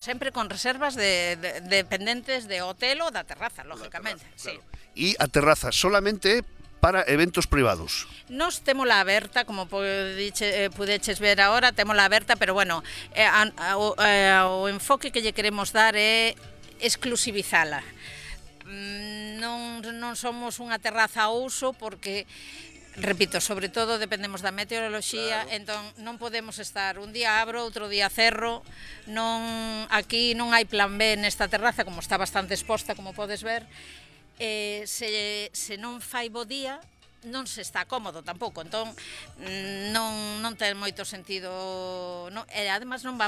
Sempre con reservas dependentes de hotel ou da terraza, lógicamente. Sí. E a terraza solamente para eventos privados. Nos témola aberta, como pudeches ver agora, témola aberta, pero bueno, o enfoque que lle queremos dar é exclusivizala. Non somos unha terraza a uso porque, repito, sobre todo dependemos da meteoroloxía, claro. Entón non podemos estar un día abro, outro día cerro, aquí non hai plan B nesta terraza, como está bastante exposta, como podes ver. Se non fai bo día, non se está cómodo tampouco, entón non ten moito sentido, e ademais non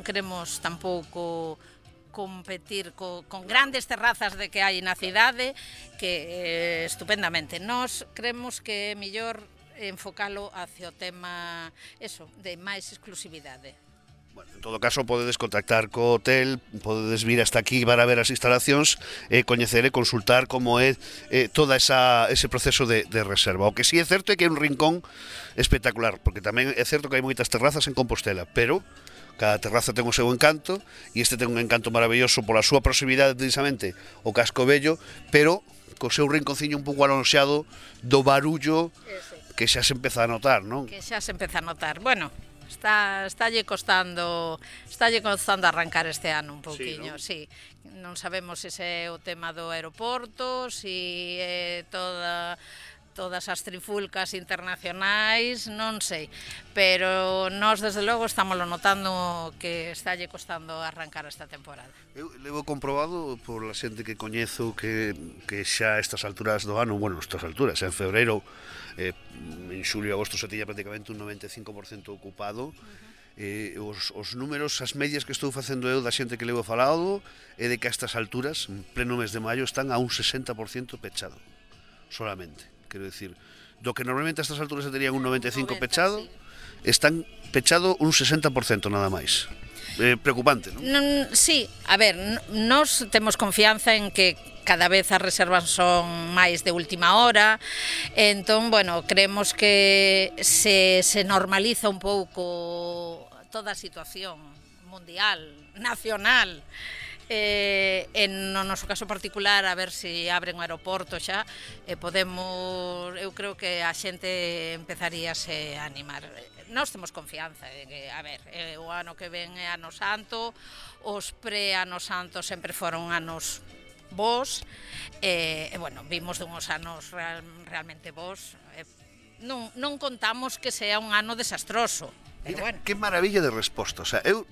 queremos tampouco competir con grandes terrazas de que hai na cidade, que estupendamente. Nós creemos que é mellor enfocalo hacia o tema de máis exclusividade. Bueno, en todo caso, podedes contactar co hotel, podedes vir hasta aquí para ver as instalacións e coñecer e consultar como é todo ese proceso de reserva. O que sí é certo é que é un rincón espectacular, porque tamén é certo que hai moitas terrazas en Compostela, pero cada terraza ten o seu encanto, e este ten un encanto maravilloso pola súa proximidade precisamente ao Casco Vello, pero co seu rinconciño un pouco alonxado do barullo que xa se empeza a notar, non? Que xa se empeza a notar. Bueno, Estálle costando arrancar este ano un pouquiño, sí. Non sabemos se é o tema do aeroporto, se é todas as trifulcas internacionais, non sei, pero nós desde logo estámoslo notando que estálle costando arrancar esta temporada. Eu levo comprobado por a xente que coñezo que xa a estas alturas do ano, bueno, estas alturas, en febreiro, en xulio e agosto se tiña prácticamente un 95% ocupado. Os números, as medias que estou facendo eu da xente que levo falado é de que a estas alturas, en pleno mes de maio, están a un 60% pechado solamente. Quero dicir, do que normalmente a estas alturas se terían un 95% pechado, están pechado un 60% nada máis. Preocupante, non? Sí, a ver, nós temos confianza en que cada vez as reservas son máis de última hora, entón, bueno, creemos que se normaliza un pouco toda a situación mundial, nacional, no noso caso particular, a ver se abren o aeroporto xa, eu creo que a xente empezaríase a animar. Nós temos confianza, a ver, o ano que ven é ano santo, os pre-ano santo sempre foron anos bos, bueno, vimos dunhos anos realmente bos, non contamos que sea un ano desastroso. Mira, que maravilla de resposta. O sea, eu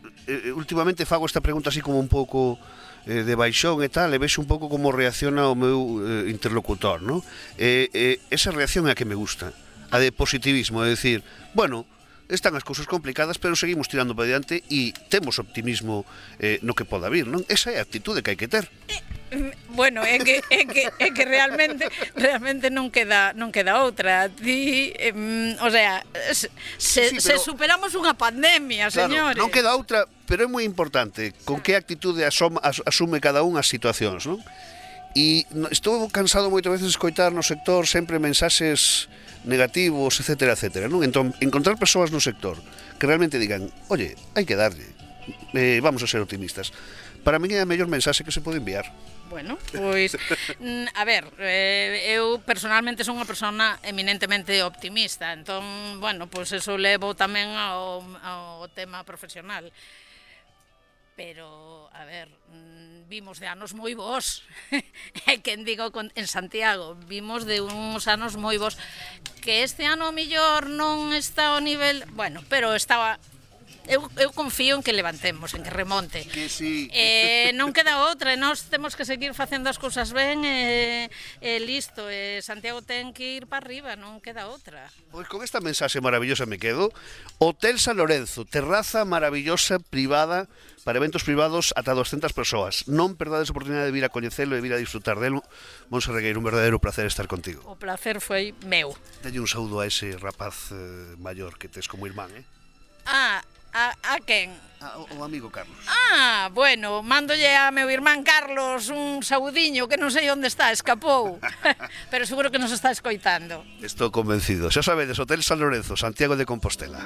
últimamente fago esta pregunta así como un pouco de baixón e tal, e vexo un pouco como reacciona o meu interlocutor, non? Esa reacción é a que me gusta, a de positivismo, é dicir, bueno, están as cousas complicadas, pero seguimos tirando para diante e temos optimismo no que poda vir, non? Esa é a actitude que hai que ter. Bueno, é que realmente non queda outra. O sea, se superamos unha pandemia, señores. Claro, non queda outra, pero é moi importante con que actitude asume cada un as situacións, non? E estou cansado moitas veces de escoitar no sector sempre mensaxes negativos, etcétera, etcétera, non? Entón, encontrar persoas no sector que realmente digan, oye, hai que darlle, vamos a ser optimistas, para min é a mellor mensaxe que se pode enviar. Bueno, pois, a ver, eu personalmente son unha persona eminentemente optimista, entón, bueno, pois eso levo tamén ao tema profesional. Pero, a ver, vimos de anos moi bons, e quen digo en Santiago, vimos de uns anos moi bons, que este ano mellor non está ao nivel, bueno, pero estaba... Eu confío en que levantemos, en que remonte. Que sí. Non queda outra, e nós temos que seguir facendo as cousas ben e listo, Santiago ten que ir para arriba, non queda outra. Pois con esta mensaxe maravillosa me quedo. Hotel San Lorenzo, terraza maravillosa, privada, para eventos privados ata 200 persoas. Non perdades a oportunidade de vir a coñecelo e vir a disfrutar delo. Monse Regueiro, un verdadeiro placer estar contigo. O placer foi meu. Dalle un saúdo a ese rapaz maior que tes como irmán, A quen? O amigo Carlos. Bueno, mándolle a meu irmán Carlos un saudiño que non sei onde está, escapou. Pero seguro que nos está escoitando. Estou convencido. Xa sabedes, Hotel San Lorenzo, Santiago de Compostela.